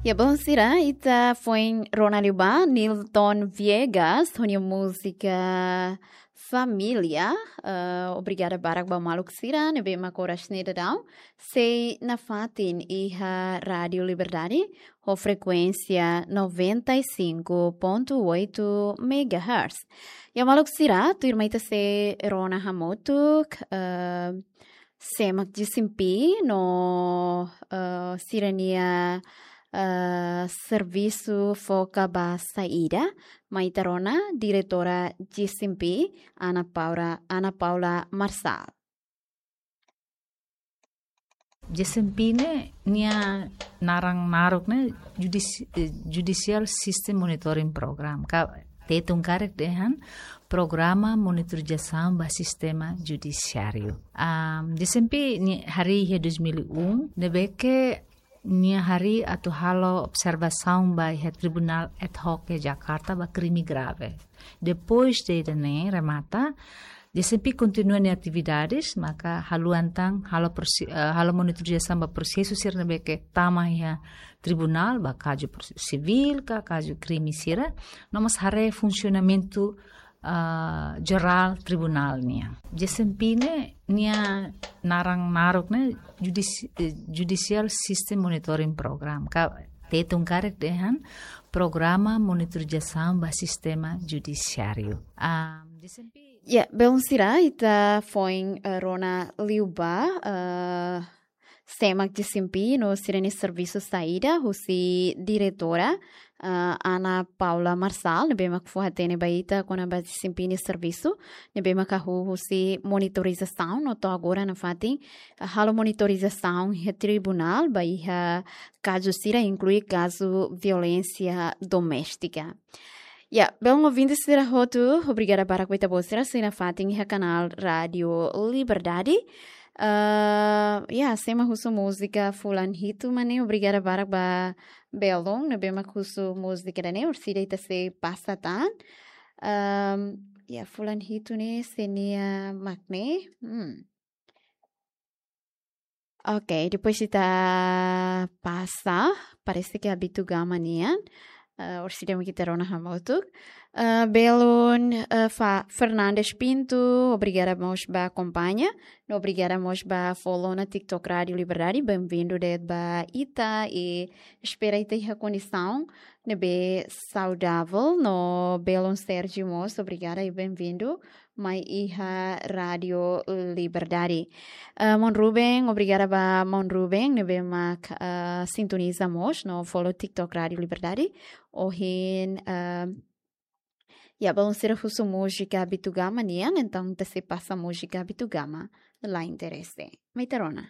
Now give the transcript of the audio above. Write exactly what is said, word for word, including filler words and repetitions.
Ya, bom sira, ita foin rona liu ba Nilton Viegas, ho nia múzika Família. Eh, obrigada barak ba maluk sira ne'ebé mak oras ne'e daudaun sei nafatin iha Rádio Liberdade, ho frekuénsia noventa e cinco ponto oito megahertz. Ya maluk sira, tuirmai ita sei rona hamutuk, eh, sé mak G C M P no, eh, sira-nia, eh, servisu foka ba saida, mai ita rona diretora G C M P, Ana Paula, Ana Paula Marçal. G C M P ne'e nia naran naruk ne'e judisi-, eh, Judicial System Monitoring Program. Ka Tetun karik dehan Programa Monitorizasaun ba Sistema Judisiáriu. Ah, G C M P nia harii iha dois mil e um, ne'ebé ke nia harii atu halo observasaun ba iha Tribunál Ad Hoc iha Jakarta ba krime grave. Depois de ida-ne'e remata, G C M P kontinua nia atividades, maka haluha tan halo prosi-, eh, halo monitorizasaun ba prosesu sira ne'ebé ke tama iha tribunál, ba kazu prosesu sivíl ka kazu krime sira, no mós haree funsionamentu, ah, jerál tribunál nian. G C M P ne'e nia naran naruk ne'e judisi-, eh, Judicial System Monitoring Program. Ka Tetun karik dehan Programa Monitorizasaun ba Sistema Judisiáriu. Ah, G C M P. Ya, belun sira, ita foin, eh, rona liu ba, eh, sé mak G C M P no sira-nia servisu saida, husi diretora, eh, Ana Paula Marçal, ne'ebé mak fó-hatene ba ita kona-ba G C M P nia servisu, ne'ebé mak hahú husi monitorizasaun, no to'o agora nafatin, eh, halo monitorizasaun iha tribunál, ba iha kazu sira inklui kazu violénsia doméstika. Ya, belun ouvinte sira hotu, obrigada barak ba ita-boot sira sei nafatin iha kanál Rádio Liberdade. Ah, ya, sé mak husu múzika fulan hitu mak ne'e, obrigada barak ba belun ne'ebé mak husu múzika ida-ne'e, orsida ita sei pasa tan. Ahm, ya, fulan hitu ne'e sé nia mak ne'e. Hmm. Oke, depois ita pasa, parese ke Abitu Gama nian, eh, orsida mak ita rona hamutuk. Eh, belun, eh, Fa-, Fernandes Pinto, obrigada mós ba akompaña, no obrigada mós ba follow ona TikTok Rádio Liberdade, benvindu de'it ba ita, i espera ita iha kondisaun ne'ebé saudavel, no belun Sérgio mós, obrigada i benvindu mai iha Rádio Liberdade. Eh, Maun Ruben, obrigada ba Maun Ruben, ne'ebé mak, eh, sintoniza mós, no follow TikTok Rádio Liberdade. Ohin, eh, ya, belun sira husu múzika Abitu Gama nian, entaun ita sei pasa múzika Abitu Gama, la interese. Mai ita rona.